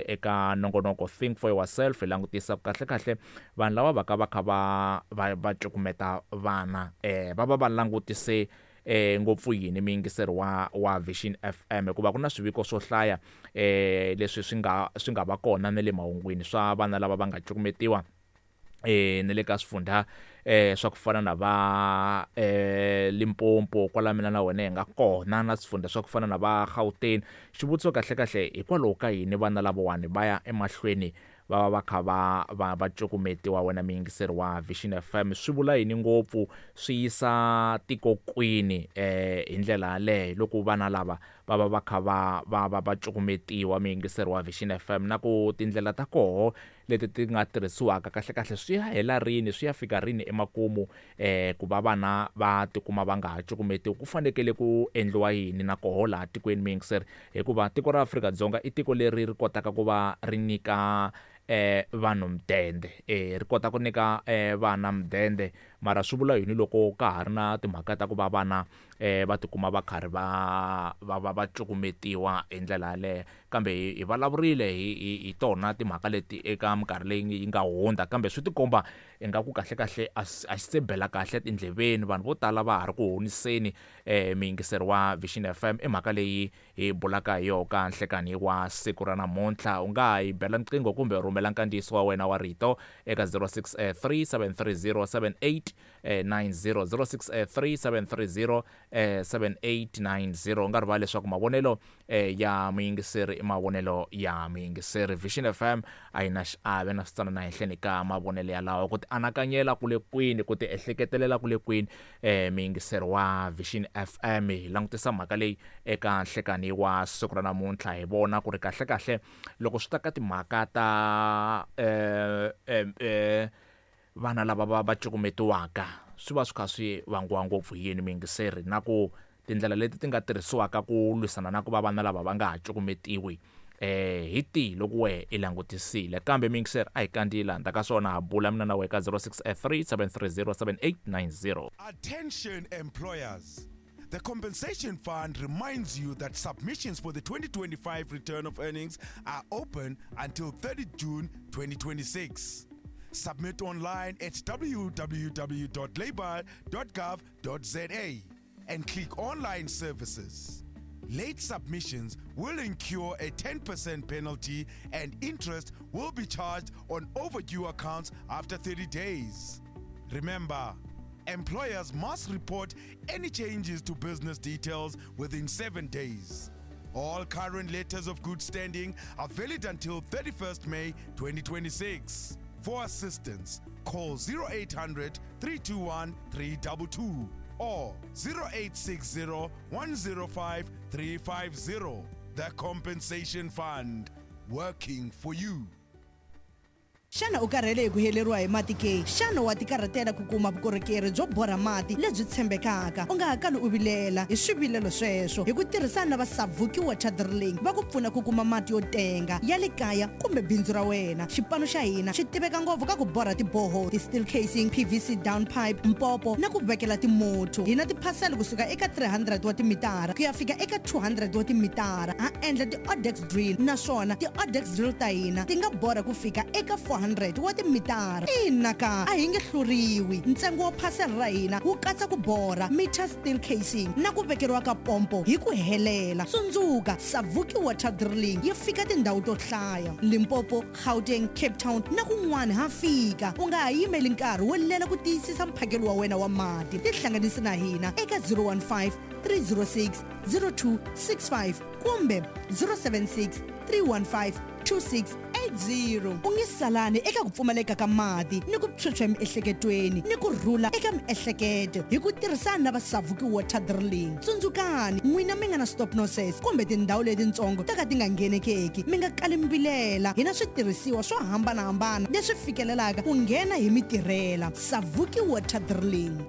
Eka nongonoko Think for Yourself hi langutisa ku kahlekahle vanhu lava va ka va kha va va va cukumeta vana va va va langutise ngopfu yini muyingiseri wa wa Vision FM hikuva ku na swiviko swo hlaya leswi swi nga swi nga va kona na le mahungwini swa vana lava va nga cukumetiwa na le ka swifundha swa ku fana na va Limpopo kwala mina na wena hi nga kona na swifundha swa ku fana na va Gauteng. Xivutiso kahlekahle hikwalaho ka yini vana lavawani va ya emahlweni va va va kha va va va cukumetiwa wena muyingiseri wa Vision FM swi vula yini ngopfu swi yisa tiko kwini hi ndlela yaleyo loko vana lava va va va kha va va va va cukumetiwa muyingiseri wa Vision FM na ku tindlela ta koho leti ti nga tirhisiwaka kahlekahle swi ya hela rini swi ya fika rini emakumu ku va vana va tikuma va nga ha cukumetiwi ku fanekele ku endliwa yini na koho laha tikweni muyingiseri hikuva tiko ra Afrika-Dzonga i tiko leri ri kotaka ku va ri nyika vanhu mudende ri kota ku nyika vana mudende mara swi vula yini loko ka ha ri na timhaka ta ku va vana va tikuma va karhi va va va va cukumetiwa hi ndlela yaleyo kambe hi hi vulavurile hi hi hi tona timhaka leti eka minkarhi leyi yi nga hundza kambe swi tikomba ingaku kahlekahle a a xi se bela kahle etindleveni vanhu vo tala va ha ri ku honiseni muyingiseri wa Vision F_M i mhaka leyi hi bulaka hi yona ka nhlekani wa siku ra namuntlha u nga ha yi bela nqingho kumbe rhumela nkandziyiso wa wena wa rito eka 063 730 7890 063 730 7890 u nga rivali leswaku mavonelo ya muyingiseri i mavonelo ya muyingiseri Vision F_M a yi na xiave na switsanana ehenhleni ka mavonelo yalawo ku ti anakanyela ku le kwini ku ti ehleketelela ku le kwini muyingiseri wa Vision F_M hi langutisa mhaka leyi eka nhlekani wa siku ra namuntlha hi vona ku ri kahlekahle loko swi ta ka timhaka ta vana lava va va cukumetiwaka swi va swi kha swi vangiwa ngopfu hi yini muyingiseri na ku tindlela leti ti nga tirhisiwaka ku lwisana na ku va vana lava va nga ha cukumetiwi hi tihi loko wehe i langutisile kambe muyingiseri a hi kandziyi laha ndzhaku ka swona ha bula mina na wehe ka 063 730 7890. Attention employers. The Compensation Fund reminds you that submissions for the 2025 return of earnings are open until 30 June 2026. Submit online at www.labour.gov.za and click Online Services. Late submissions will incur a 10% penalty and interest will be charged on overdue accounts after 30 days. Remember, employers must report any changes to business details within 7 days. All current letters of good standing are valid until 31st May 2026. For assistance, call 0800 321 322 or 0860 105 350. The Compensation Fund, working for you. Xana u karhele hi ku heleriwa hi mati ke? Xana wa tikarhatela ku kuma vukorhokeri byo borha mati lebyi tshembekaka? U nga ha kali u vilela hi swivilelo sweswo. Hi ku tirhisana na va Savuki Water Drilling va ku pfuna ku kuma mati yo tenga ya le kaya kumbe bindzu ra wena. Xipano xa hina xi tiveka ngopfu ka ku borha ti-borehole, ti-steel casing, P_V_C down pipe, mpopo na ku vekela timotho. Hi na tiphasela kusuka eka 300 wa timitara ku ya fika eka 200 wa timitara. Ha endla ti-odex drill naswona ti-odex drill ta hina ti nga borha ku fika eka 400 wa timitara. Ina ka, a hi nge hluriwi. Ntsengo wa phasela ra hina wu katsa ku borha, meter steel casing na ku vekeriwa ka pompo hi ku helela. Tsundzuka, Savuki Water Drilling yi fika tindhawu to hlaya, Limpopo, Gauteng, Cape Town na kun'wana ha fika. U nga ha yimeli nkarhi wo lela ku tiyisisa mphakelo wa wena wa mati. Tihlanganisi na hina eka 015 306 0265 kumbe 076 315 2680. U nge salani eka ku pfumaleka ka mati ni ku phyuphya emiehleketweni ni ku rhula eka miehleketo hi ku tirhisana na va Savuki Water Drilling. Tsundzukani, n'wina mi nga na stop nonsense kumbe tindhawu letitsongo to ka ti nga nghenekeki, mi nga kali mi vilela. Hi na switirhisiwa swo hambanahambana leswi fikelelaka ku nghena hi mi tirhela. Savuki Water Drilling.